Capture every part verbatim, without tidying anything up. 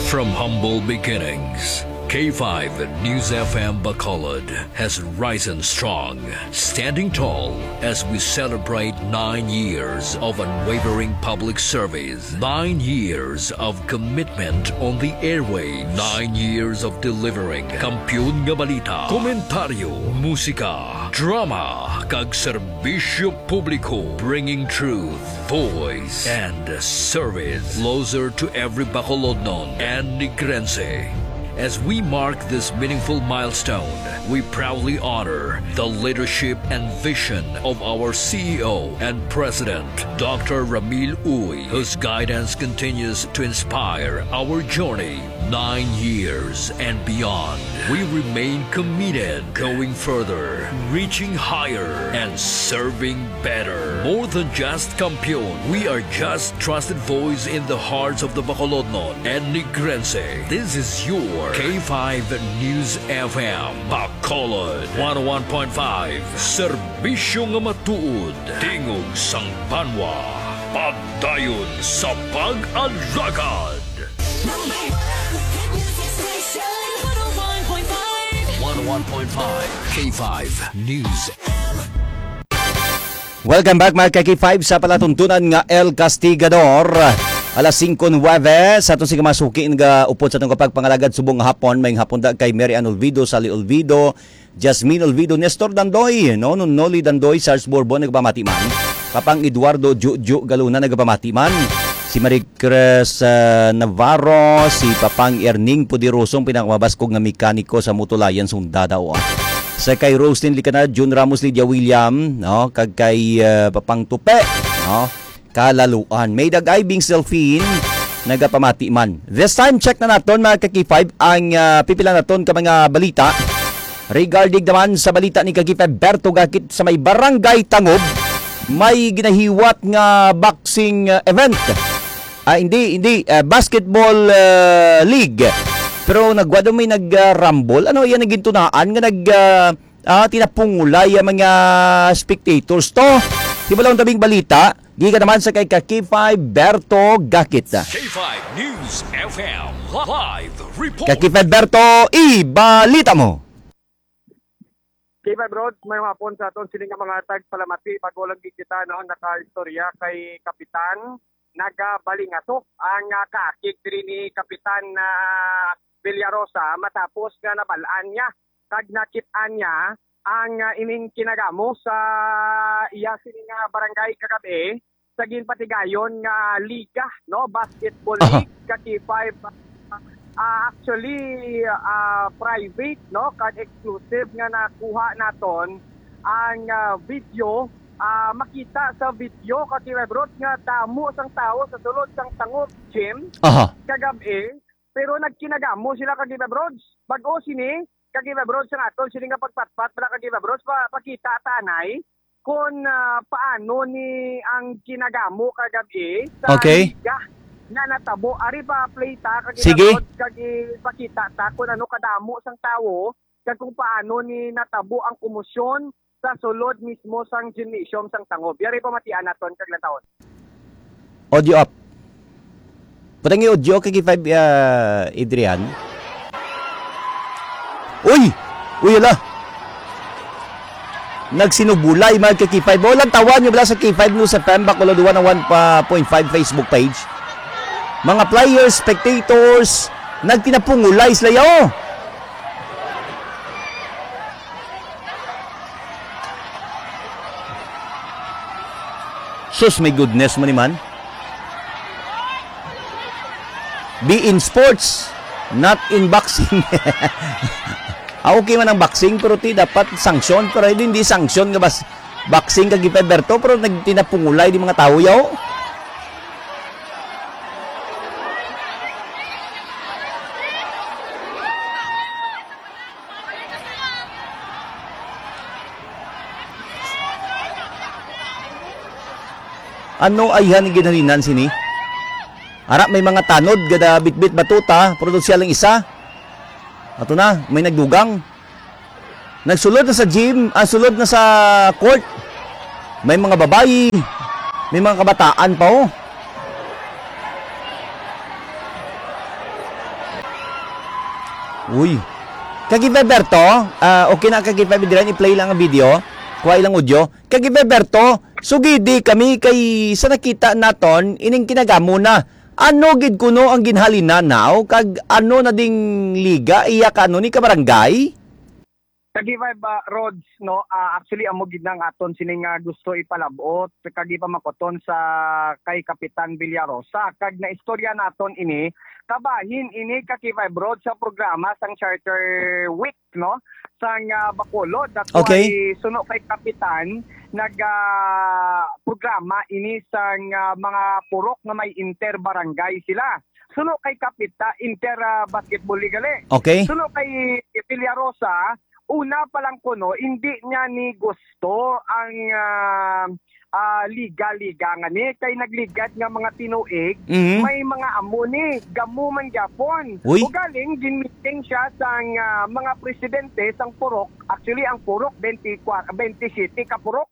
From humble beginnings, K five News F M Bacolod has risen strong, standing tall as we celebrate nine years of unwavering public service, nine years of commitment on the airwaves, nine years of delivering kampiyon nga balita, komentaryo, musika, drama, kag serbisyo publiko, bringing truth, voice, and service closer to every Bacolodnon and Negrense. As we mark this meaningful milestone, we proudly honor the leadership and vision of our C E O and President, Doctor Ramil Uy, whose guidance continues to inspire our journey nine years and beyond. We remain committed, going further, reaching higher, and serving better. More than just kampiyon, we are just trusted voice in the hearts of the Bacolodnon and Negrense. This is your K five News F M, Bacolod, one oh one point five, serbisyo nga matuod, tingog sang banwa, pagdayon sa pag-alagad. Number one hit music station, one oh one point five. One oh one point five K five News. Welcome back, mga ka-K five, sa palatuntunan nga El Castigador. Alas singko nuwebe sa aton sing mga suki nga upod sa atong kapagpangalagad subong nga hapon. May hapon da kay Mary Ann Olvido, Sally Olvido, Jasmine Olvido, Nestor Dandoy, no, no, Noli Dandoy, Sars Borbo, nagpamati man. Papang Eduardo Juju Galuna, nagpamati man. Si Marie Cres, ah, Navarro, si Papang Erning Poderosong pinakamabaskog nga mekaniko sa Mutulayan, Sundada, o, ah. Sa kay Roslyn Licanad, Jun Ramos, Lydia William, no? Kag kay, ah, Papang Tupe, no? Kalaluan. May dagay Bing Selfie, nagapamati man. This time, check na naton, mga ka-K five, ang, ah, pipila naton ka mga balita. Regarding naman sa balita ni ka-K five Berto Gakit sa may Barangay Tangob, may ginahiwat nga boxing, ah, event. Ah, hindi, hindi, ah, basketball, ah, league. Pero nagwa daw may nag-, ah, rumble. Ano, yan ang gintunaan nga nag-, ah, ah, tinapungulay ang mga spectators to. Hibalon tabing balita, gikan naman sa kay ka-K five Berto Gakit. K five News F M live report. Ka-K five Berto, ibalita mo. K five Rod, may hapon sa aton sini nga mga tagpalamati. Bago lang gid kita, no, nakaistorya kay Kapitan, nagabalingatok ang, ah, kaakig diri ni Kapitan, ah, Villarosa matapos nga nabal-an niya kag nakit-an niya ang, ah, ining kinagamo sa iya sini nga barangay kagab-i sa ginpatigayon nga liga, no, basketball Aha. league, ka K five. Ah, actually, ah, private, no, kag exclusive nga nakuha naton ang, ah, video. Ah, makita sa video, ka K five Rod, nga damo sang tawo sa sulod sang Tangob Gym Aha. kagab-i, pero nagkinagamo sila, ka K five Rod. Bag-o sini, ka K five Rod, sa aton sini nga pagpatpat, bala, ka K five Rod, pa, pakita ta anay kon, ah, paano ni ang kinagamo kagab-i sa Okay. liga nga natabo. Ari pa, play ta, ka K five Sige. Rod, kag ipakita ta kung ano kadamo sang tawo kag kung paano ni natabo ang komosyon sa sulod mismo sang gymnasium sang Tangob. Yari, pamatian naton kag lantawon. Audio up. Putang yung audio kay K five, ah, Adrian. Uy! Uy, ala! Nagsinubulay, mga ka K five. O, lantawan nyo bala sa K five News F M, Bacolod one oh one point five Facebook page. Mga players, spectators, nagtinapungulay sila, yo! Sus, my goodness mo ni man. Be in sports, not in boxing. Ah, okay man ang boxing, pero ti dapat sanction, pero hindi, hindi sanction nga bas boxing kag Berto, pero nagtinapungulay di mga tao, yaw. Ano ayhan ni ginhalinan sini? Ara, may mga tanod, gada bitbit batuta, pero siya lang isa. Ato na, may nagdugang. Nagsulod na sa gym, ah, sulod na sa court. May mga babayi. May mga kabataan pa, oh. Uy. Kag Berto, ah, okay na kag i-play lang ang video. Kuha ilang audio. Kag Berto, sugidi kami kay sa nakita naton, ining kinagamo na. Ano gid kuno ang ginhalina now? Kag ano na ding liga? Iya ka ano ni kabarangay? Kag Vibe, ah, Rods, no, ah, actually, amo gid na ang aton sini nga gusto ipalabot, kag ipamakuton sa kay Kapitan Villarosa. Kag naistorya naton ini, kabahin ini, kag Vibe, Rods, sa programa sang Charter Week, no, sang, ah, Bacolod. That's Okay. why suno kay Kapitan, nag, ah, programa ini sang, ah, mga purok nga may inter-barangay sila. Suno kay Kapita, inter, ah, basketball league gali. Okay. Suno kay Villarosa, una pa lang kuno, hindi niya ni gusto ang, ah, ah, liga-liga nga ni. Kay nagligad nga mga tinuig, Mhm. may mga amo ni, gamo man gyapon. Uy. Ugaling, ginmeeting siya sang, ah, mga presidente sang purok. Actually, ang purok, twenty-four, twenty-seven ka purok.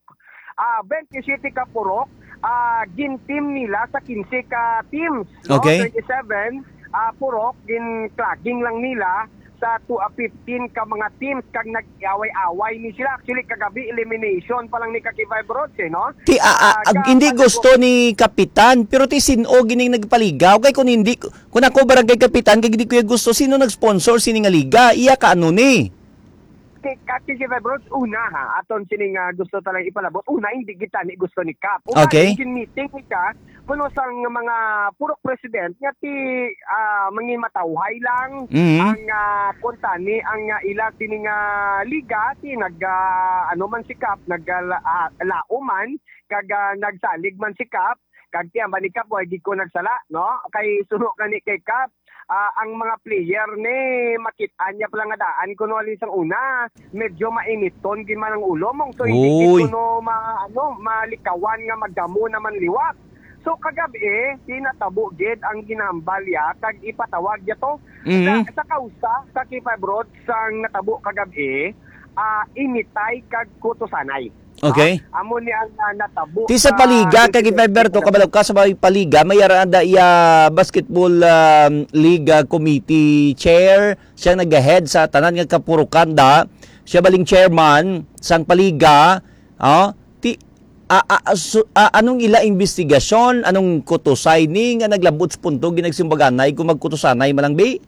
Ah, twenty-seven ka purok, ah, gin-team nila sa quince ka teams, no? Okay. Twenty-seven, ah, purok, gin-clogging lang nila sa two, ah, fifteen ka mga teams, kag nag-away-away ni sila. Actually, kagabi, elimination pa lang ni Kakibay Brods, eh, no? Ti, ah, ah, Ah, ag-, hindi gusto ni Kapitan, pero ti sin-o gining nagpaligaw. Kay kung hindi, kung ako barangay kapitan, kay hindi ko yung gusto, sino nag-sponsor sini nga liga? Iya ka ano ni? Ti-, Kati si February, una ha, aton sini nga gusto talang ipalabot. Una, hindi kita ni gusto ni Kap. Una, Okay. Yung meeting ni ka, kuno sang mga purok president nga ti, ah, mangimatawhay lang Mhm. ang, ah, kuntani ang, ah, ila sini nga liga, ti nag, ah, ano man si Kap, nag, ah, la-, ah, lao man, kag, ah, nagsalig man si Kap, kag ti ang ba ni Kap, wa gid ko nagsala, no? Kay suno gani kay Kap, ah, ang mga player ni makit-an niya pala nga daan kuno ali sang una, medyo mainiton gid man ang ulo mong, so hindi gid Uy. kuno ma-, ano, malikawan nga magdamo naman liwat. So kagabi, tinatabo gid ang ginambal ya kag ipatawag ya to Mhm. sa, sa kausa sa K five Road sang natabo kagabi, ah, initay kag kutusanay. Okay. Ah, amo ni ang, ah, natabo Ti sa sa Paliga, kay Gilbert Berto, kabalo ka sa may Paliga, may ara da iya basketball, um, league, ah, committee chair, siya nag-head sa tanan nga kapurukan da, siya baling chairman sang Paliga, ah, ti, a, a, a, su-, a, anong ila investigasyon, anong kutusay ni nga naglabot sa punto ginagsimbaganay kung magkutusanay man lang, bi?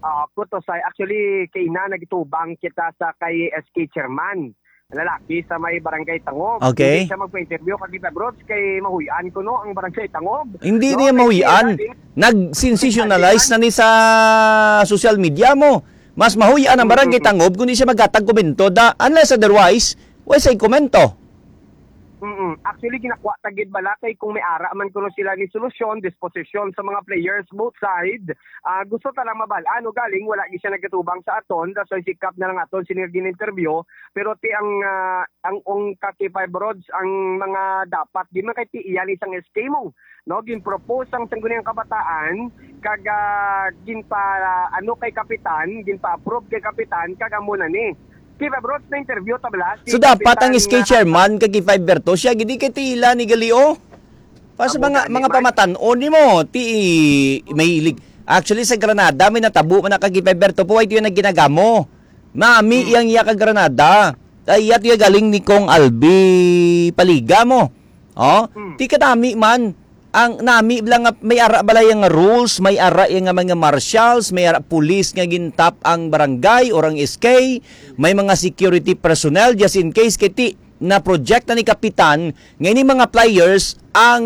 Ah, kutusay. Actually, kay ina nagtubang kita sa kay S K chairman. Lalaki sa may barangay Tangob. Okay. Hindi siya magpa-interview kag kita, Brods, kay mahuy-an kuno ang barangay Tangob. Hindi No, niya kay mahuy-an. sila din. Nag-sensationalize na ni sa social media mo. Mas mahuy-an ang barangay Mm-mm. Tangob kundi siya maghatag komento. Da, unless otherwise, wa say komento. Mm-mm. Actually, ginakuha ta gid bala kay kung may ara man kuno sila ni solusyon, disposisyon sa mga players, both side, ah, gusto ta lang mabal-an, no, galing wala gid siya nagatubang sa aton, that's why si Kap na lang aton sini nga gin-interview, pero ti ang, ah, ang ung ka K five Rods, ang mga dapat, di man kay ti iya ni sang S K mo, no? Gin-propose ang sangguniang kabataan, kag, ah, ginpa, ano, kay Kapitan, ginpa-approve kay Kapitan, kag amo na ni. K five Rods, na-interview ta bala si So, dapat ang Kapitan, S K ah, chairman kag K five Berto, siya gid kay tila ni gali, oh. Para sa Amo mga, gani, mga Mark. pamatan-on nimo, ti may ilig. Actually, sa Granada, may natabo man na kag K five Berto po, ay tiyo na ginagamo. Nami Hmm. iyang iya ka Granada. Ay, iya tiyo galing ni Kong Albi Paliga mo. Oh, Hmm. ti kadami man. Ang nami lang nga may ara bala yang rules, may ara yang nga mga marshals, may ara pulis nga gintap ang barangay or ang S K, may mga security personnel just in case kay ti na project na ni kapitan nga ini mga players ang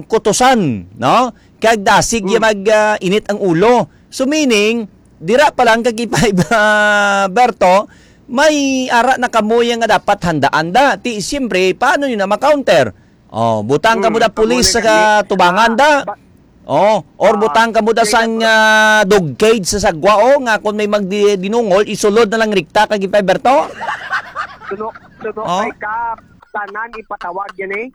kutusan, no? Kag dasig ya Mm. mag, ah, init ang ulo. So meaning, dira pa lang kag K five, ah, Berto, may ara na kamo ya nga dapat handaan da. Ti, siyempre, paano nyo na ma-counter? Oh, butang ka mo Mm, da pulis kamo sa na kami. katubangan da. Ah, ba- Oh, or Ah, butang ka mo da kaya sang, ah, dog cage sa sagwa, oh, nga kung may magdi-, dinungol, isulod na lang rikta kag K five Berto. Suno, suno Oh. kay ka, tanan ipatawag yan eh.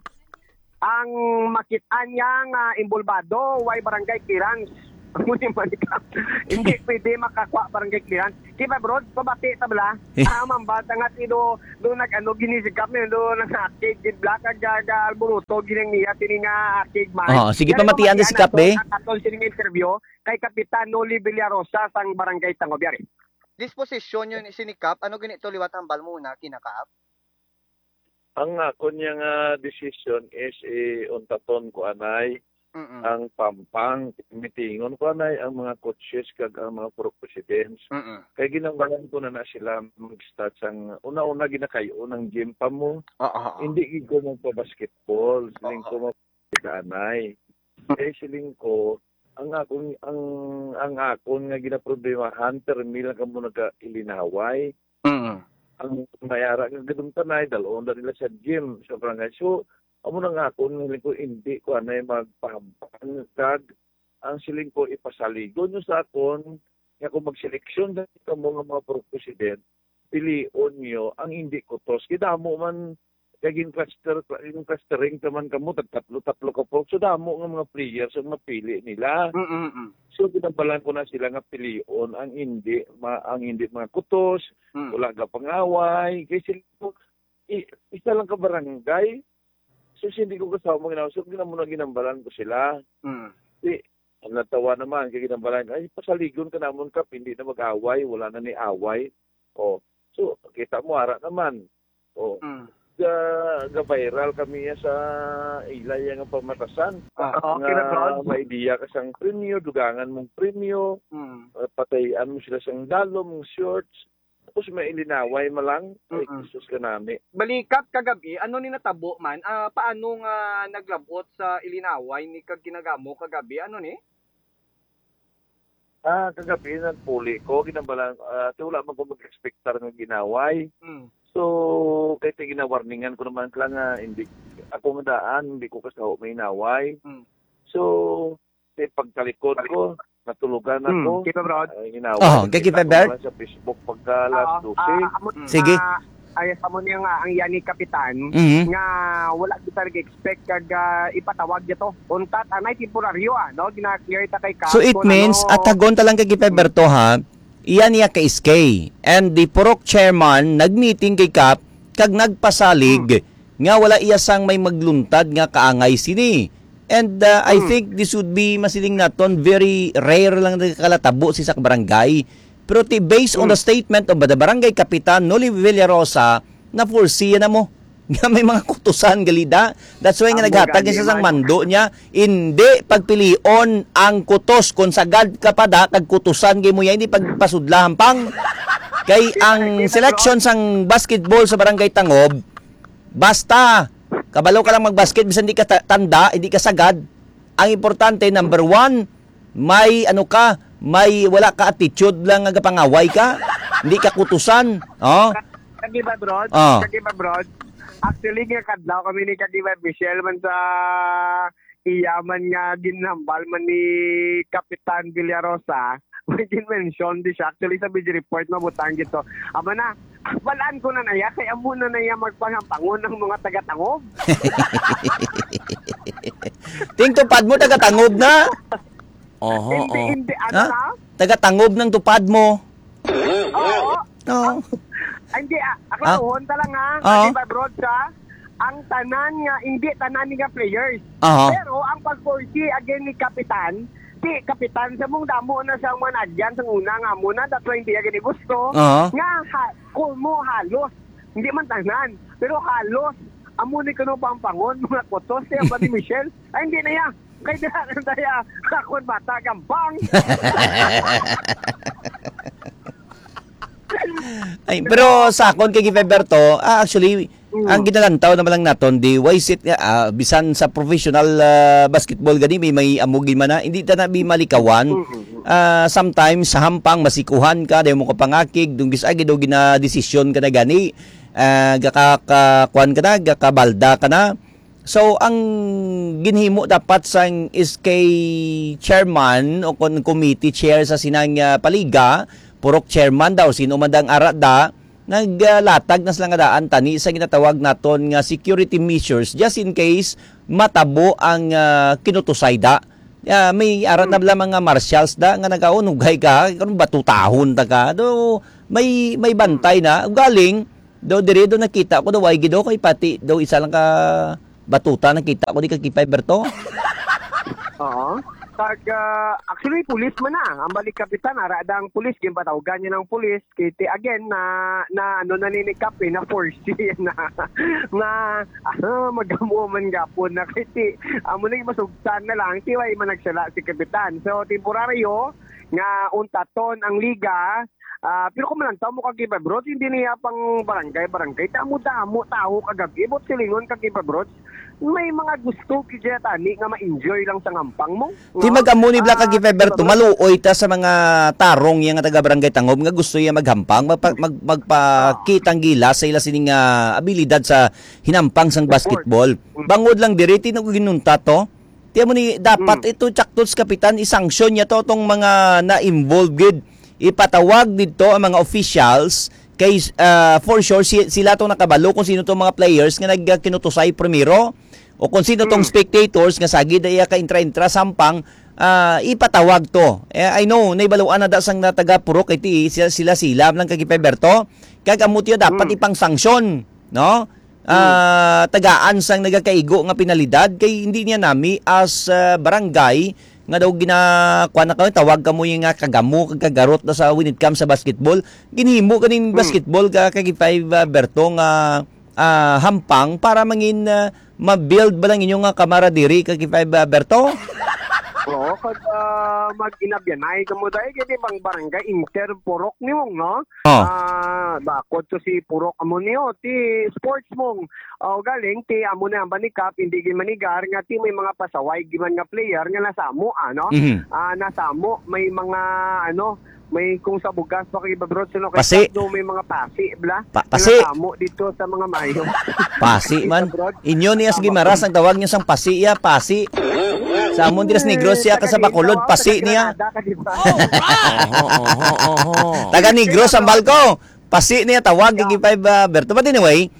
Ang makit-an niya nga involvado, way barangay clearance. Amo ni Manikap. Hindi pwede makakuha barangay clearance. Di ba, bro? Pabati ta bala. Eh. Ah, mambata nga si do, do nag-ano, ginisigap niya, do nag-active, di bala, kag, kag, alboroto, gining niya, sini nga active man. Oh, sige, pamatian na si Kap, eh. Ang aton sining interview kay Kapitan Noli Villarosa sang Barangay Tangob, yari. Disposisyon yun, sini Kap, ano gani to liwat hambal mo na, kina Kap? Ang akon niya nga desisyon is, eh, untaton ko anay Mm-mm. ang Pampang. Mitingon ko anay ang mga coaches kag ang mga purok presidents. Mm-mm. Kay ginambalan ko na na sila mag-start sang una-una, ginakayo ng gym pa mo. Oo, oo. Hindi gid ko magpa-basketball. Siling Oo. ko magpa-anay. Kay siling ko, ang akon, ang, ang akon nga ginaproblemahan, permi lang kamo nagailinaway. Mm. Ang may ara nga gadumtanay, dalon na nila sa gym, sa barangay. So, amo na nga ako, ang siling ko, hindi ko anay magpahambal kag ang siling ko, ipasaligon nyo sa akon, nga kung magseleksyon na kamo nga mga purok president, pilion nyo ang hindi kutos. Kay damo man, kay gin-cluster, gin-clustering ka man kamo, tag tatlo-tatlo ka purok. So, damo nga mga players ang mapili nila. Mm, mm, mm. So, ginabalan ko na sila nga pilion ang hindi, ma-, ang hindi mga kutos, Mm. wala ka pangaway. Kay sila, i-, isa lang ka barangay. So, hindi ko kasama ginawa. So, gina-, muna ginambalan ko sila. Mm. Di, ang natawa naman, kay ginambalan, "Ay, pasaligon ka namon, Kap, hindi na mag-away, wala na ni away." Oh. So, kita mo, ara naman. Oh. Mm. Ga, ga-viral kami ya sa ila ya nga pamatasan. Ah, okay na, Nga bro. may idea ka sang premyo, dugangan mong premyo, Mm. eh, patayan mo sila sang dalom, shorts, tapos may ilinaway malang. Ay, Mm-mm. Jesus ka nami. Balikat kagabi, ano ni natabo man? Ah, paano nga naglabot sa ilinaway ni kag kinagamo kagabi? Ano ni? Ah, kagabi, nagpuli ko, ginambalan, ah, ti wala man ko mag-expectar nga ginaway. Mm. So, kay ti ginawarningan ko naman sila nga hindi, ako nga daan, hindi ko kasaho may inaway. Mm. So, ti pagtalikod ko, natulugan Mm, ako. Kita, bro. Ay, inaway, Oh, kay nakita kita, ko Bert? lang sa Facebook pagka alas Ah, dose. ah, amo, Sige. ah, Ay, sa mo niya nga ang yani kapitan Mhm. nga wala kita nag-expect kag, ah, ipatawag dito. Untat anay temporaryo, ah, no? Gina-clear ta kay Kap So it kung means, ano. Atagon ta lang kay Gipe Berto, ha? Iya niya ka S K. And the Purok chairman nag-meeting kay Kap kag nagpasalig Hmm. nga wala iya sang may magluntad nga kaangay sini. And, uh, I Hmm. think this would be, masiling naton, very rare lang na kalatabo sa isa ka barangay. Pero ti, based on the Hmm. statement of the barangay kapitan, Noli Villarosa, na-foresee na mo nga may mga kutusan gali da. That's why nga Amo naghatag gani siya sang man. mando niya, hindi pagpilion ang kutos. Kung sagad ka pa da, kag kutusan gay mo yan, hindi pagpasudla hampang. Kay ang selection sang basketball sa Barangay Tangob, basta, kabalo ka lang magbasket, bisan di ka ta-, tanda, hindi ka sagad. Ang importante, number one, may ano ka, may wala ka attitude lang nga gapangaway ka, hindi ka kutusan. Oh. Kag iba, bro. Oh. Kag iba, bro. Actually, nga kadlaw kami ni kag iba, Michelle, man sa iya man nga ginhambal man ni Kapitan Villarosa, may gin-mention di siya. Actually, sa video report, mabutang gito. Amo na, balaan ko na na iya, kay amo na na iya magpangampangon ang mga taga-Tangob. Ting tupad mo, taga-Tangob na? Oho, Hindi, oh. hindi, ano Ha? na? Taga-Tangob ng tupad mo. Oo. Oo. Hindi, ah, ako Ah. tuhon ta lang, ha. Oo. Di ba, broad siya? Ang tanan nga, hindi tanan nga players. Aha. Pero ang pag-foresee again ni Kapitan, di Kapitan sa mong damo na siyang managyan sa una nga amo na, that's why hindi niya gani gusto. Aha. Nga, ha, kumo halos, hindi man tanan, pero halos, amo ni kuno pampangon, mga kutos, siya ba ni Michelle? Ay, hindi na yan. Kay dira na tayo, akon bata, gampang. Ay, pero sa akon kay Gife Berto, ah, actually, Mm. ang ginalantaw naman lang naton, di, why is it nga, ah, bisan sa professional, ah, basketball gani, may, may amugi man na, hindi ta na bi malikawan. Mm, mm, mm. Ah, sometimes, sa hampang, masikuhan ka, dahil mo kapangakig, dunggis agi daw ginadesisyon ka na gani, ah, gaka-, ka-, kuwan ka na, gakabalda ka na. So, ang ginhimo dapat sang S K chairman o kon committee chair sa sinang, ah, paliga, purok chairman daw, sino man dang ara da, naglatag na sila nga daan tani sa ginatawag naton nga security measures just in case matabo ang, ah, kinutusay da. Ah, may ara na Hmm. bala mga marshals da nga nagaunugay ka, karon batutahon ta ka. Do, may, may bantay na. Galing, do, diri do nakita ko do, ay gido kay pati do isa lang ka batuta nakita ko di ka K five Berto. Oo. Tag, ah, actually, pulis man na. Ang balik kapitan, ara da ang pulis, ginpatawagan niya ng pulis. Kay ti, again, na, na ano na ni ni Kap, eh, na foresee na, na, ah, magamo man gapon na. Kay ti, amo nang masugtan na lang, ti, way man nagsala si kapitan. So, temporaryo, nga untaton ang liga, ah, pero kung malantaw mo kag iba, bro, hindi niya pang barangay, barangay. Damo-damo, tao kagabi, bot silingon kag iba, bro. May mga gusto gid siya tani nga ma-enjoy lang sa ngampang mo, Ti no? Mag-amo ni Black Ah, Kag Fever to, diba, bro? Maluoy ta sa mga tarong yang taga Barangay Tangob nga gusto iya maghampang, magpa-, mag-, magpakitang gilas sa ila sining, ah, abilidad sa hinampang sang Sport. Basketball. Mm. Bangod lang diri, ti nag-, ginunta to. Ti amo ni, dapat Mm. ito, tsaktos kapitan, isanksyon niya to, tong mga na-involve gid. Ipatawag didto ang mga officials kay, ah, for sure, si-, sila tong nakabalo kung sino tong mga players nga nagkinutusay primero. O kung sino tong Hmm. spectators nga sagid na iya ka intra-intra sampang, ah, ipatawag to. Eh, I know, naibaluan na da sang na taga Purok, kay ti-, sila, sila, sila lang kag Berto. Kag amo tiyo dapat Hmm. ipang-sanction, no? Hmm. Ah, tagaan sang nagakaigo nga penalidad kay hindi niya nami as, ah, barangay nga daw gina-, kuwan na kamo, tawag kamo yung nga kagamo, kag kagarot na sa when it comes sa basketball. Ginhimo ganing Hmm. basketball ka, kag Five, ah, Berto nga ah, hampang para mangin, ah, ma-build ba lang inyo nga kamaradiri kag Five, ah, Berto? Oo, kag, ah, mag-inabyanay kamo dahil kay di bang barangay inter Purok ni mong, no? Oh. Ah, bakod to si Purok amo niyo, ti sports mong, oh, galing, ti amo na ang banikap, hindi gid manigar nga ti may mga pasaway giman nga player nga nasamo, ano? Mhm. Ah, nasamo, may mga, ano, may kung sa bugas pa kay Babrots, no, kay Pasi. Sabdo, may mga pasi, bla. Pa-, Nga pasi. Tamo dito sa mga mayo. Pasi man. Babrots. Inyo niya sa Gimaras, ang tawag niyo sang pasi, ya, pasi. Sa amon, diras Negros siya, ka sa Bacolod, pasi niya. Taga Negros, taga Granada, ka, di ba? Oho, oho, oho. Taga Negros, ang balko. Pasi niya, tawag, Yeah. Gigi Five, ah, Berto. But anyway,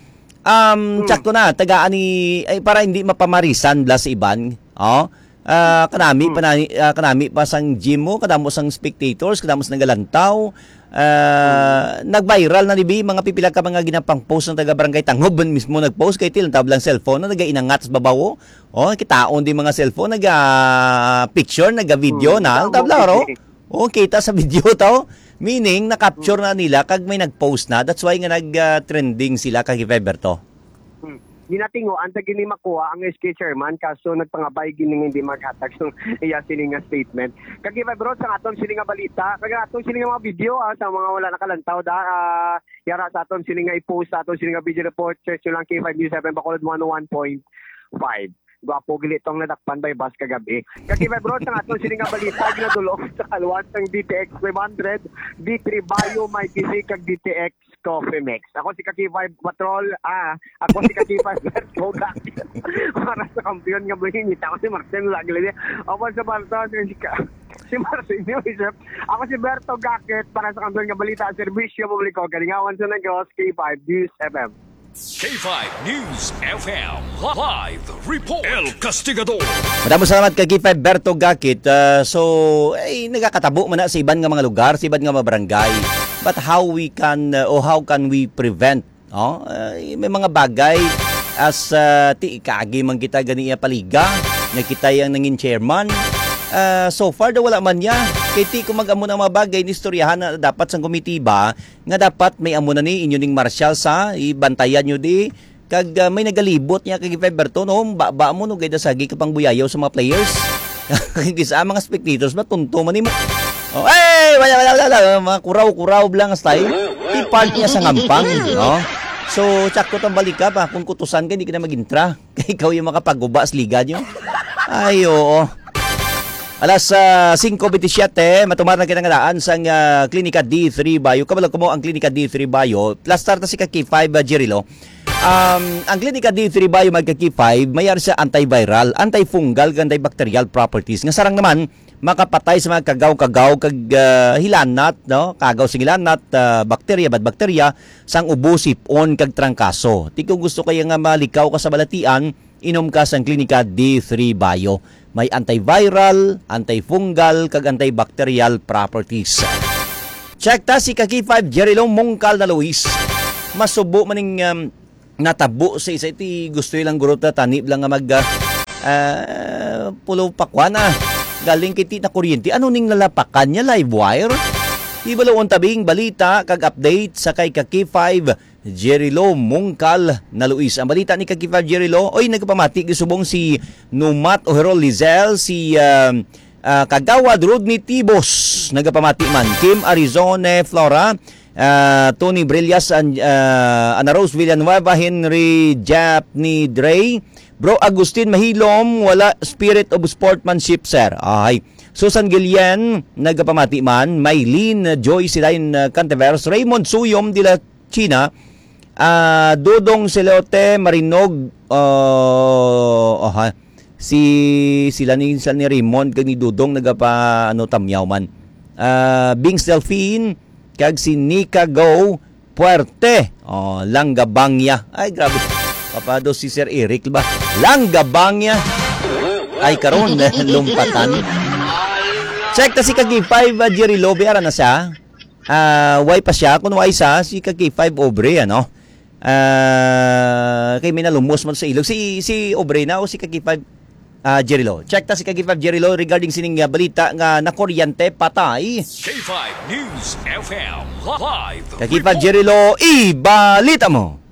um, Hmm. tsakto na, tagaan ni, ay, para hindi mapamarisan, bla, sa iban. Oh, ah, kanami Hmm. pa na, ah, kanami pa sang gym mo, kadamo sang spectators, kadamo sang nagalantaw. Ah, Hmm. nag-viral na ni bi, mga pipila ka mga ginapang post ng taga Barangay Tangob, man mismo nag-post, kay tilang tablang cellphone na nagainangat sa babaw, oh. Oh, kitaon di mga cellphone, naga-picture, naga-video Hmm. na, ang Damo tabla, ro? Picture. Oh, kita sa video to. Meaning, na-capture Hmm. na nila, kag may nag-post na. That's why nga nag, ah, trending sila, kag Five Berto. Hmm. Ginatinguan ta gini makuha ang S K chairman, kaso nagpangabay gini nga hindi maghatag sa iya sini nga statement. Kag iba, bro, sa aton sini nga balita, kag aton sini nga mga video, ah, sa mga wala nakalantaw da, ah, yara sa aton sini nga i-post sa aton sini nga video report, search nyo lang K five News seven Bacolod one oh one point five. Gwapo gili tong nadakpan by bus kagabi. Kag iba, bro, sa aton sini nga balita, ginadulong sa kaluwas ng D T X five hundred, D three Bio, may P C, kag D T X Coffee Mix. Ako si Kaki Five Patrol, ah, ako si Kaki Five Berto Gakit. Para sa kampiyon nga buhingit, ako si Martin Laglili. Ako sa Martin, si Ka-, si Martin Joseph. Ako si Berto Gakit para sa kampiyon nga balita, serbisyo publiko, kalingawan sa negos, K five News F M. K five News F M live report. El Castigador. Madamo salamat kay K five Berto Gakit. Ah, so, ay, nagakatabo man na sa iban nga mga lugar, sa iban nga mga barangay. But how we can, uh, o how can we prevent, no? Uh, may mga bagay as, uh, ti ikaagi man kita gani iya paliga, nga kita yang nangin chairman. Uh, so far daw wala man niya. Kay ti kung mag-amo na mga bagay, nistoryahan na dapat sang komitiba, nga dapat may amo na ni inyo ning marshals, ha, ibantayan nyo di. Kag, ah, may nagalibot niya kag Five Berto, no? Ba, ba mo, no? Gayda sagi ka pang buyayaw sa mga players. Kisa mga spectators ba, tunto man nimo. Oh, hey! Wala, wala, wala, wala. Mga kuraw-kuraw lang style. Di part niya sa ngampang, no? So, tsakto tang balika pa. Kung kutusan ka, hindi ka na mag-intra. Kay ikaw yung makapaguba sa liga nyo. Ay, oo. Alas, ah, singko bintisiete, matumar na kita nga daan sang, ah, Klinika D three Bio. Kabalo ko mo ang Klinika D three Bio. Plastar ta si Kaki five, ah, Jirilo. Um, ang Klinika D three Bio, mga Kaki five, may ari sa antiviral, antifungal, kag antibacterial properties. Nga sarang naman, makapatay sa mga kagaw-kagaw kag, ah, hilanat, no? Kagaw sa hilanat, ah, bakterya, bad bakterya, sang ubo, sipon, kag trangkaso. Ti kung gusto kaya nga malikaw ka sa balatian, inom ka sang Klinika D three Bio. May antiviral, antifungal, kag antibacterial properties. Check ta si ka K five Jerry Lo Mungkal na Luis. Masubo man ning, um, natabo sa isa iti gusto ilang guro ta tanib lang nga mag, ah, ah, pulo pa kuan, ah. Galing kiti na kuryente. Ano ning lalapakan niya? Live wire? Ibalo untabing balita kag update sa kay ka K five Jerry Lo Mungkal na Luis. Ang balita ni ka K five Jerry Lo, oy, nagpamati gisubong si Numat Oherol Lizel, si, ah, ah, Kagawad Rodney Tibos, nagapamati man. Kim Arizone Flora, ah, Tony Brillas, An-, ah, Ana Rose Villanueva, Henry Japni Dre, Bro Agustin Mahilom, wala spirit of sportsmanship, sir. Ay. Susan Guillen, nagapamati man. Maylene Joy Silayon, ah, Cantiveros, Raymond Suyom de la China, ah, Dodong Celote Marinog, ah, aha. Si, sila ni, sila ni Raymond kag ni Dodong nagapa, ano, tamyaw man. Ah, Bings Delfin, kag si Nika Go Puerte. Oh, Langgabangya. Ay, grabe. Papado si Sir Eric ba? Langgabangya. Ay, karon, lumpatan. Check ta si ka K five, ah, Jerry Lobe, ara na siya. Ah, why pa siya? Kung why sa, si ka K five Obre, ano? Ah, kay may nalumos man sa ilog. Si, si Obre na o si ka K five, ah, Jerry Lo? Check ta si ka K five Jerry Lo regarding sining, ah, balita nga nakuryente patay. K five News F M live Ka K five report. Jerry Lo, ibalita mo.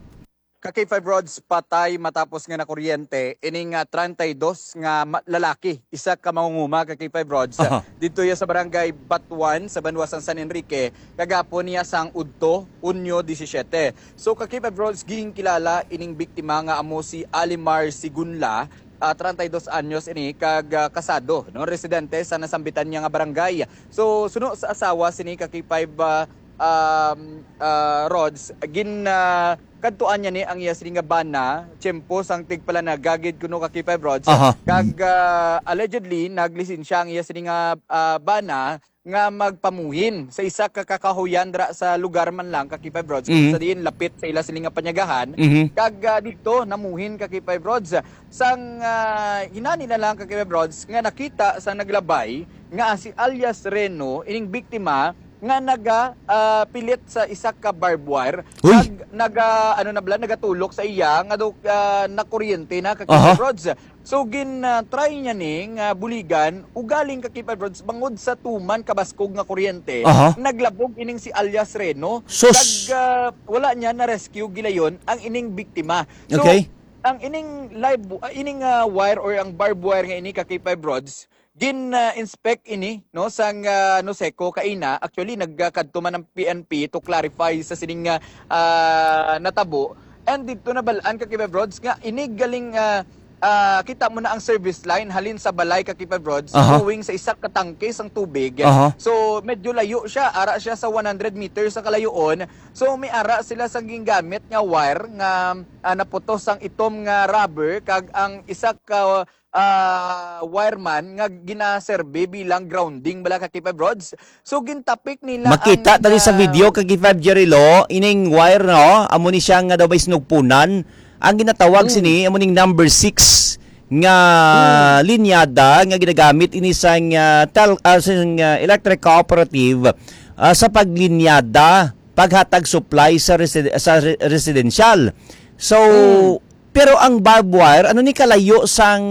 Ka K five Rods, patay matapos nga nakuryente ining, ah, treinta y dos nga ma-, lalaki, isa ka mangunguma, ka K five Rods, Aha. didto iya sa barangay Batuan sa banwa sang San Enrique, kagapon niya sang udto, Hunyo disisiete. So, ka K five Rods, ginkilala ining biktima nga amo si Alimar Sigunla, ah, treinta y dos anyos ini, kag, ah, kasado, no, residente sa nasambitan niya nga barangay. So, suno sa asawa sini, ka K five, ah, um, ah, Rods, gin, ah, kadtuan niya ni ang iya sini nga bana, tiyempo sang tigpalanagagid kuno, ka K five Rods. Aha. Kag, ah, allegedly, naglisensya ang iya sini nga, ah, bana nga magpamuhin sa isa ka kakahuyan dira sa lugar man lang, ka K five Rods, Mhm. sa diin lapit sa ila sini nga panyagahan. Mhm. Kag, ah, didto namuhin, ka K five Rods. Sang, ah, hinani na lang, ka K five Rods, nga nakita sa naglabay nga si alias Reno, ining biktima, nga naga, ah, pilit sa isa ka barbed wire, Uy! nag-, naga, ano na bala, nagatulok sa iya nga daw, ah, nakuryente na, ka Aha. K five Rods. So, gin, ah, try niya ni nga buligan, ugaling, ka K five Rods, bangod sa tuman kabaskog nga kuryente, Aha. naglabog ining si alias Reno. Sus! Kag, ah, wala niya na-rescue gilayon ang ining biktima. So, Okay. ang ining live, ah, ining, ah, wire or ang barbed wire nga ini, ka K five Rods, gin, ah, inspect ini, no, sang, ah, NOSECO kaina. Actually, nagkadto man ang P N P to clarify sa sining, ah, ah, natabo. And didto nabal-an, ka K five Rods, nga ini galing, ah, ah, kita mo na ang service line halin sa balay, ka K five Rods, Aha. going sa isa ka tangke sang tubig. Aha. So, medyo layo siya. Ara siya sa one hundred meters sa kalayoon. So, may ara sila sa gingamit nga wire nga, ah, naputos ang itom nga rubber kag ang isa ka ah, wireman nga ginaserbi bilang grounding bala, ka K five Rods. So, gintapik nila Makita ang, tali sa ah, video, ka K five Jerry Lo, ining wire, no? Amo ni siya nga daw may sinugpunan. Ang ginatawag Mm. sini, amo ning number six nga Mm. linyada nga ginagamit ini sang, ah, tel-, ah, sang, ah, electric cooperative, ah, sa paglinyada, paghatag supply sa resi-, sa re-, residential. So, Mm. Pero ang barbed wire, ano ni kalayo sang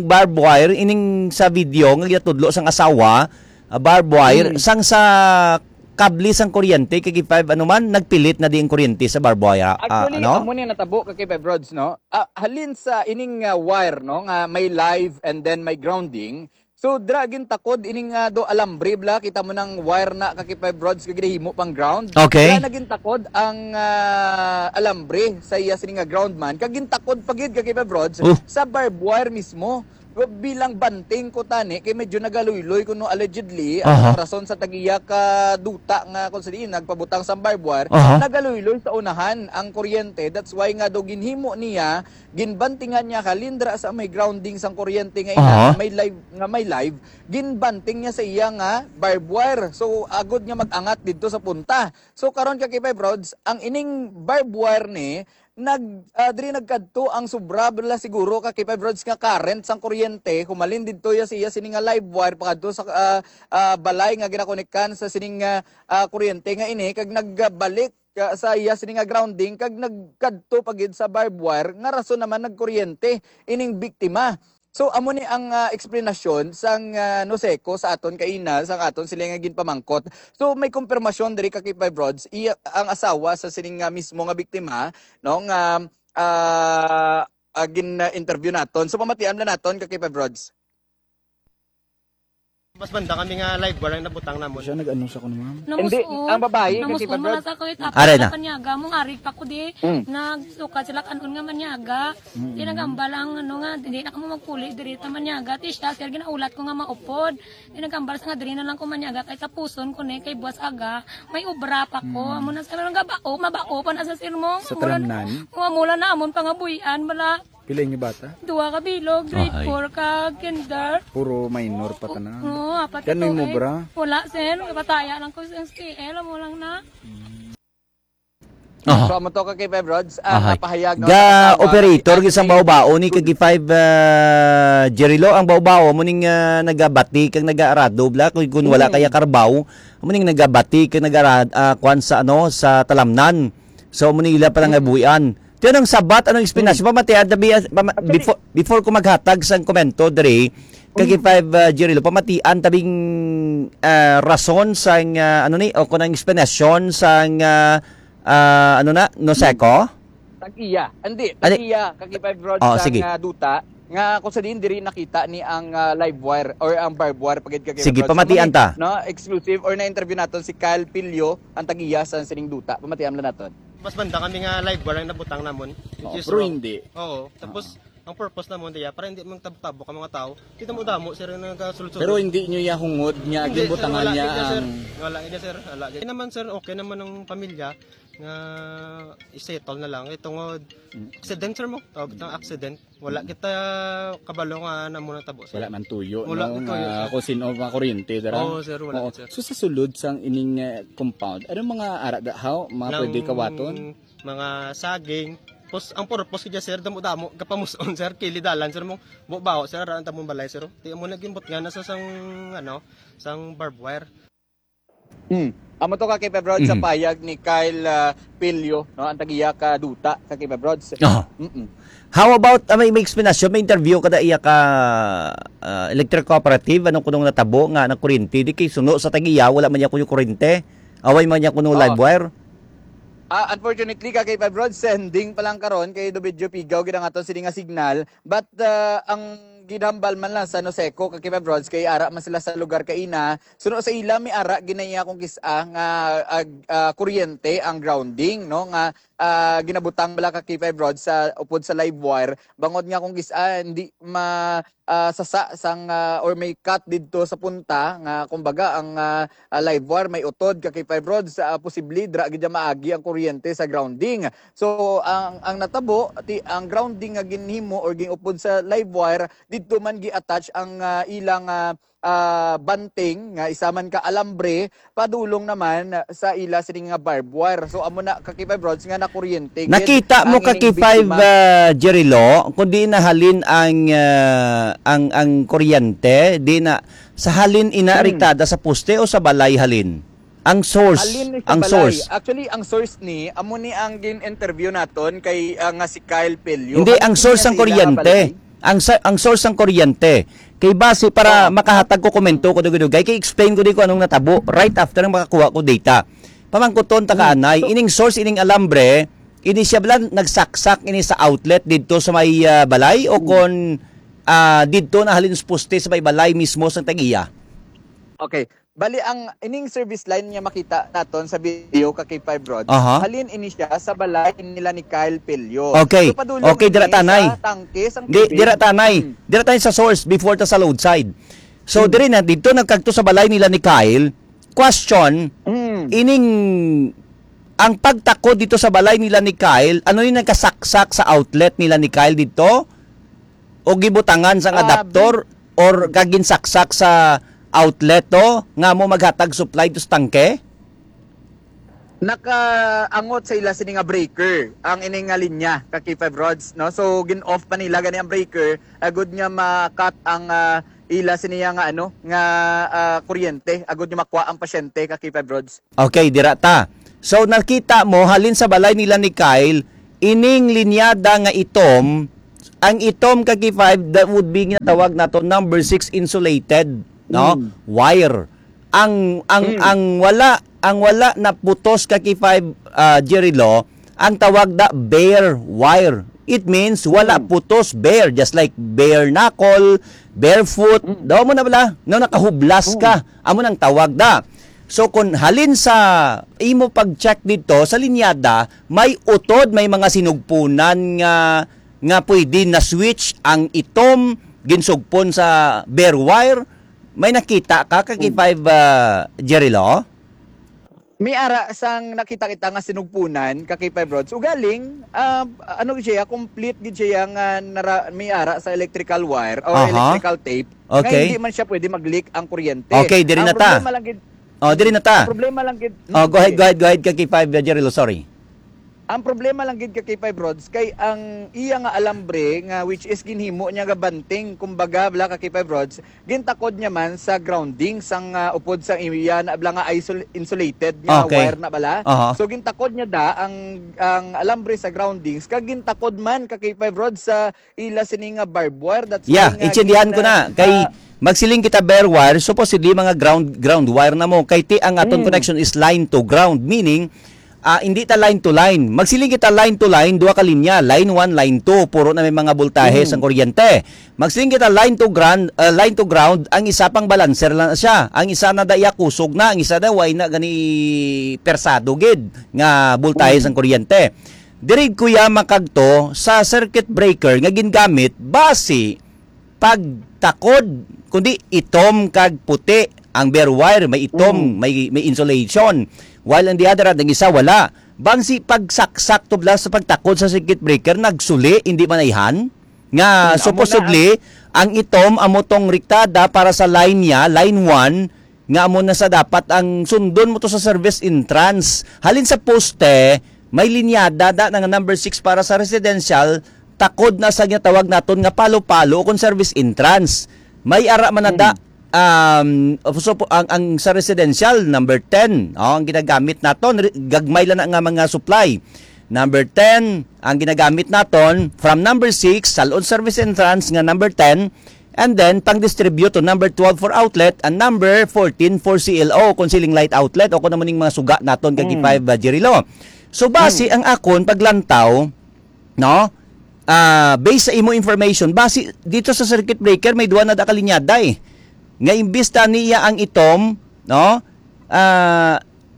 barbed wire ining sa video nga ginatudlo sang asawa, ah, barbed wire, Mm. sang sa kable sang kuryente, kay five ano man, nagpilit na di ang kuryente sa barbed wire, ah, Actually, ano? amo ni natabo, ka K five Rods, no? Ah, halin sa ining, ah, wire, no, nga may live and then may grounding, So, dira gintakod ini nga do alambre bala, kita mo nang wire na, ka K five Rods, kag ginahimo pang ground. Okay. Dira na gintakod ang, ah, alambre sa iya sini nga ground man, kag gintakod pa gid, ka K five Rods, Oh. sa barbed wire mismo. Bilang banting ko tani, kay medyo nagaluyloy kuno allegedly, ang Aha. rason sa tagiya ka duta nga kung sa diin nagpabutang sa barbed wire, Aha. nagaluyloy sa unahan ang kuryente. That's why nga do ginhimo niya, ginbantingan niya halin dira sa may grounding sang kuryente nga ina, Aha. nga may live, nga may live, ginbanting niya sa iya nga barbed wire. So, agod nga mag-angat didto sa punta. So, karon, ka K five Rods, ang ining barbed wire ni, nag, ah, diri nagkadto ang sobra bala siguro ka K five Rods nga current sang kuryente, humalin didto ya siya sini nga live wire pakadto sa, ah, ah, balay nga ginakonektan sa sining, ah, ah, kuryente nga ini, kag nagbalik, ah, sa iya sini nga grounding, kag nagkadto pa gid sa barbed wire, nga rason naman nagkuryente ining biktima. So, amo ni ang, ah, eksplanasyon sang, ah, NOSECO sa aton kaina, sang aton sila nga ginpamangkot. So, may kumpirmasyon diri ka K five Rods, iya, ang asawa sa sining nga mismo nga biktima, no, nga, ah, ah, gin-interview naton. So, pamatian na naton ka K five Rods. Mas banda kami nga live wire ang nabutang namon. Siya nag-ano sa kuno, ma'am? Hindi, Namusuon. ang babae, Namusuon kasi man pag- sa ko, it Are na. Panyaga, mong arig pa ko di. Mm. Nagsukad sila kanon nga manyaga. Mm. Di nagambal ang ano nga, hindi na kamo magpuli diri ta manyaga. Ti siya, sir, ginaulat ko nga maupod. Di nagambal sa nga diri na lang ko manyaga kay tapuson ko ni kay buwas aga. May obra pa ko. Mm. Amo na sa nang gabao, mabao pa na sa sir mo. Sa Amo na, talamnan? Amo na amon pangabuhian, bala. Pila inyo bata? Duha ka bilog, grade Ahay. four ka kinder. Puro minor pa tanan. Oo, apat Yan may ito, eh. mobra? Wala, sir. Pataya lang ko sa S T L. Amo lang na. Aha. So, amo to ka K five Rods, ang Ahay. napahayag, no, Ga sa asawa, operator, si gisang Ashley. Baobao ni kagi five, ah, Jerilo, ang Baobao, mo ning, ah, nagabati kag nagaarado, bla, kung, kung wala Mm. kaya karbaw, mo ning nagabati kag nagaarad, ah, kwan sa, ano, sa talamnan. So, mo ning ila pala nga Mm. buhian. Tiyan ang sabat, anong explanation? Mm. Pamatian, tabi, ah, pama-, Actually before, before ko maghatag sang komento, Dre, kagi Mm. five, ah, Jerilo, pamatian, tabing, ah, rason sang, ah, ano ni, o kung ang explanation sang, ah, ah, ano na, NOSECO? Tag-iya. Hindi, Ano? tag-iya, kagi five Rods Oh, sang, sige. ah, duta, nga kung sa diin diri nakita ni ang, ah, live wire or ang barbed wire, pagid kagi Sige, five Rods. pamatian Amo ni, ta. no, exclusive or na-interview naton si Kyle Pilio, ang tag-iya sa sining duta. Pamatian lang naton. Mas banda kami nga live wire ang nabutang namon, which Oo, is pero wrong. hindi. Oo. Tapos, Oo. ang purpose namon diya, para hindi magtabok-tabok ang mga tao. Kita mo damo, sir, yung nagkasulod-sulod. Pero hindi nyo ya hungod nga Hindi, sir, ginbutangan wala niya gid, sir. ang Wala gid, sir. Wala gid. Okay naman, sir, okay naman ang pamilya nga i-settle na lang. Itong Mm. accident, sir, mo. Tawag itong accident. Wala Mm. kita kabalo nga na muna tabo, sir. Wala man tuyo, Wala no, man tuyo, nga sir. kung sino makuryente, dara. Oo, sir, wala, Oo. sir. So, sa sulod sang ining, eh, compound, ano mga ara da, how? Mga Nang pwede kawaton? mga saging. Pos, ang purpose ko dyan, sir, damo-damo, kapamuson, sir, kilidalan, sir, mo, baho, sir, ara ang tamong balay, sir. Di mo naging bot nga nasa sang, ano, sang barbed wire. Hmm. Amo to ka K five Rods sa Mhm. payag ni Kyle, ah, Pilio, no? Ang tag-iya ka duta ka K five Rods. Aha. Mm-mm. How about, ah, may, may explanation, may interview ka da iya ka, ah, electric cooperative, ano kunong natabo nga nagkuryente, di kay suno sa tag-iya, wala man niya kuno kuryente, away man niya kuno Oo. live wire? Ah, unfortunately, ka K five Rods, sending pa lang karon kay do medyo pigaw gid ang aton sini nga signal, but, ah, ang ginhambal man lang sa NOSECO ka K five Rods kay ara man sila sa lugar kaina, suno sa ila, may ara ginaiya kung kis-a nga, ah, ah, kuryente ang grounding, no, nga, ah, ginabutang bala ka K five Rods sa upod sa live wire, bangod nga kung kis-a hindi ma-, ah, sasa sang, ah, or may cut didto sa punta nga, kumbaga, ang, ah, ah, live wire may utod ka K five Rods, ah, posible dira gid maagi ang kuryente sa grounding. So, ang, ang natabo, ti, ang grounding nga ginhimo or gin-upod sa live wire, didto man gi-attach ang, ah, ilang, ah, ah, banting nga isa man ka alambre padulong naman sa ila sini nga barbed wire. So, amo na ka K five Rods nga nakuryente gid Nakita mo ang ka ining K five, biktima. ah, Jerry Lo, kung di nahalin ang, ah, ang, ang kuryente, di na, sa halin ina Hmm. riktada sa poste o sa balay halin? Ang source, Halin ni sa ang balay. source. Actually, ang source ni, amo ni ang gin-interview naton kay, ah, nga si Kyle Pelio. Hindi, Halin ang niya source sa ang ila nga kuryente. balay. Ang sa-, ang source ang kuryente. Kay base para Oo. makahatag ko komento ko dugay-dugay, kay explain ko di ko anong natabo right after nga makakuha ko data. Pamangkuton ta ka, Hmm. anay, So ining source, ining alambre, ini siya bala nagsaksak ini sa outlet didto sa may, ah, balay o Hmm. kon, ah, didto na halin sa poste sa may balay mismo sa tag-iya? Okay. Bali, ang ining service line nga makita naton sa video ka K five Rods, Aha. halin ini siya sa balay nila ni Kyle Pelio. Okay. So, padulong Okay, dira ini tanay. sa tangke sang Di, tubig. dira tanay. Hmm. Dira tanay sa source before ta sa load side. So, Hmm. diri na, dito nagkagto sa balay nila ni Kyle. Question, Hmm. ining, ang pagtakod dito sa balay nila ni Kyle, ano yung nagkasaksak sa outlet nila ni Kyle dito? O gibutangan sang Ah, adapter or kaginsaksak sa outlet to nga mo maghatag supply to sa tangke? Nakaangot sa ila sini nga breaker ang ini nga linya, ka K five Rods, no? So, gin-off pa nila gani ang breaker, agud nga ma-cut ang, ah, ila sini nga, ano, nga, ah, kuryente, agud nga makuha ang pasyente, ka K five Rods. Okay, dira ta. So, nakita mo, halin sa balay nila ni Kyle, ining linyada nga itom, ang itom, ka K five, that would be ginatawag nato number six insulated, no? Mm. Wire. Ang, ang, Mm. ang wala, ang wala naputos, ka K five, ah, Jerry Lo, ang tawag da bare wire. It means wala Mm. putos, bare, just like bare knuckle, bare foot. Mm. Daw mo na bala, no, nakahublas Mm. ka. Amo nang tawag da. So, kung halin sa imo pag-check dito sa linyada, may utod, may mga sinugpunan nga, nga pwede na switch ang itom, ginsugpon sa bare wire. May nakita ka, ka K five, ah, Jerry Lo? May ara sang nakita kita nga sinugpunan, ka K five Rods. Ugaling, ah, ano gid siya, complete gid siya nga nara-, may ara sa electrical wire or Aha. electrical tape. Nga Okay. hindi man siya pwede mag-leak ang kuryente. Okay, diri Ang na ta. problema lang gid, Oh, diri na ta. ang problema lang gid, Oh, go ahead, sige. go ahead, go ahead, ka K five, Jerry Lo, sorry. Ang problema lang gid, ka K five Rods, kay ang iya nga alambre nga, which is ginhimo niya nga banting, kumbaga, bala, ka K five Rods, gintakod niya man sa grounding sang, ah, upod sa iya na bala nga isol-, insulated nga Okay. wire na bala. Aha. So, gintakod niya da ang, ang alambre sa groundings, kag gintakod man, ka K five Rods, sa ila sini nga barbed wire. That's Yeah, why nga intindihan ko gin-, na. Kay ah, magsiling kita bare wire, supposedly mga ground, ground wire na mo. Kay ti ang aton Mm. connection is line to ground, meaning, ah, hindi ta line to line. Magsiling kita line to line, duha ka linya, line one, line two, puro na may mga voltahe Mm. sang kuryente. Magsiling kita line to ground, ah, line to ground, ang isa pang balancer lang siya. Ang isa na da iya kusog na, ang isa na way na gani persado gid nga voltahe Mm. sang kuryente. Diri, kuya, makagto sa circuit breaker nga gingamit basi pagtakod, kundi itom kag puti ang bare wire, may itom, Mm. may, may insulation. While on the other hand, ang isa wala. Bangsi pagsaksak to bala sa pagtakod sa circuit breaker, nagsuli, hindi man ayhan. Nga Mm, amo na supposedly, ang itom amo tong rektada para sa line niya, line one, nga amo na sa dapat ang sundon mo to sa service entrance. Halin sa poste, may linyada da nga number six para sa residential, takod na sa ginatawag naton nga palo-palo o kung service entrance. May ara man na da, Hmm. um, so, po, ang, ang sa residential, number ten, oh, ang ginagamit naton, re-, gagmay lang na nga mga supply. Number ten, ang ginagamit naton, from number six, salon service entrance nga number ten, and then pang-distribute to number twelve for outlet and number fourteen for C L O, kung ceiling light outlet o kung ano ning mga suga naton kag Mm. five, uh, Jerry Lo. So, basi Mm. ang akon paglantaw, no? Ah, based sa imo information, basi dito sa circuit breaker may duha na da ka linyada eh. Nga imbis ta niya ang itom, no? Ah,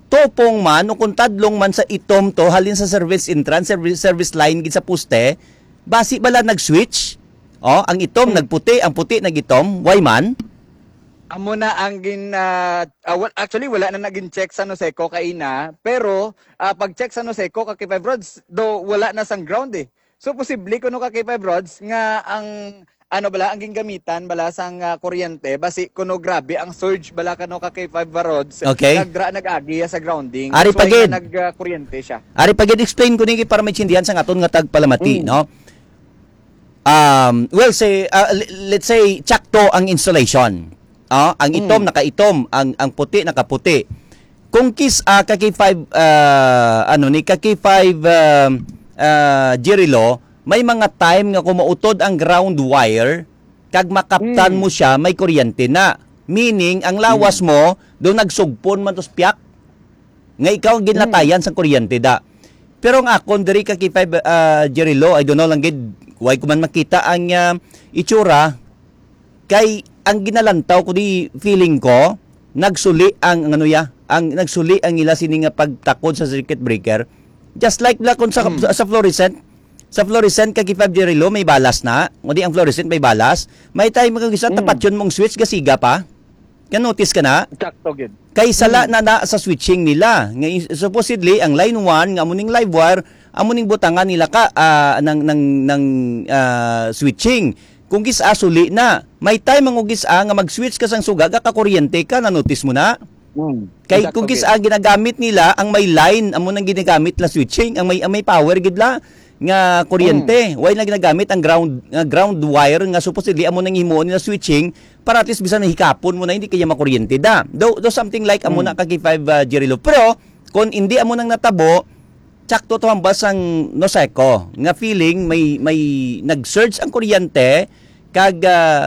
tupong man o kung tadlong man sa itom to halin sa service entrance, service, service line gid sa poste, basi bala nag-switch. Oh, ang itom Hmm. nagputi, ang puti nagitom. Why man? Amo na ang gin, ah, ah, wal-, actually, wala na nagin check sa Noseco kaina, pero, ah, pag-check sa Noseco, ka K five Rods, do wala na sang ground eh. So, posible kuno, ka K five Rods, nga ang, ano bala, ang gingamitan bala sang, ah, kuryente, basi kuno grabe ang surge bala kano, ka K five Rods, Okay. nagdra nag-agi ya sa grounding. Ari That's why pagid. nga nag, ah, kuryente siya. Ari pagid, explain ko ni para maintindihan sa aton nga tagpalamati, Mm. no? Um, well, say, uh, l-, let's say, tsakto ang insulation. Ah, ang itom Mm. nakaitom, ang, ang puti nakaputi. Kung kis-, ah, ka K five, ah, ano ni, ka K five, ah, ah, Jerry Lo, may mga time nga kung mautod ang ground wire, kag makaptan Mm. mo siya, may kuryente na. Meaning, ang lawas Mm. mo, do nagsugpon man tos piyak. Nga ikaw ang ginlatayan Mm. sa kuryente da. Pero ang akon diri, ka K five, ah, Jerry Lo, I don't know lang gid, why ko man makita ang, ah, itsura. Kay ang ginalantaw ko di, feeling ko, nagsuli ang, ang ano ya, ang nagsuli ang ila sini nga pagtakod sa circuit breaker. Just like na kung sa, Mm. sa, sa fluorescent, sa fluorescent, ka K five, Jerry Lo, may balas na. Kundi ang fluorescent may balas. May time kung isa Mm. tapatyon mong switch, gasiga pa. Ka-notice ka na? Sakto gid. Kay sala Hmm. na na sa switching nila. Nga i-, supposedly, ang line one, nga amo ning live wire, amo ning butangan nila ka, ah, ng, ng, ng, ah, switching. Kung gis-a, suli na. May time ang gis-a nga mag-switch ka sang suga, ka kuryente ka, na-notice mo na? Mm. Kay Exact kung again. kis ang ginagamit nila, ang may line, amo nang ginagamit la switching, ang may ang may power gid la nga kuryente. Why na ginagamit ang ground nga ground wire nga supposedly amo nang himuon nila switching para at least bisan nahikapon mo na hindi kaya makuryente da. Do, do something like amo Mm. na kag five uh, Jerry Lou. Pero kung hindi amo nang natabo, sakto to hambal sang Noseco nga feeling may may nag-surge ang kuryente kag ah,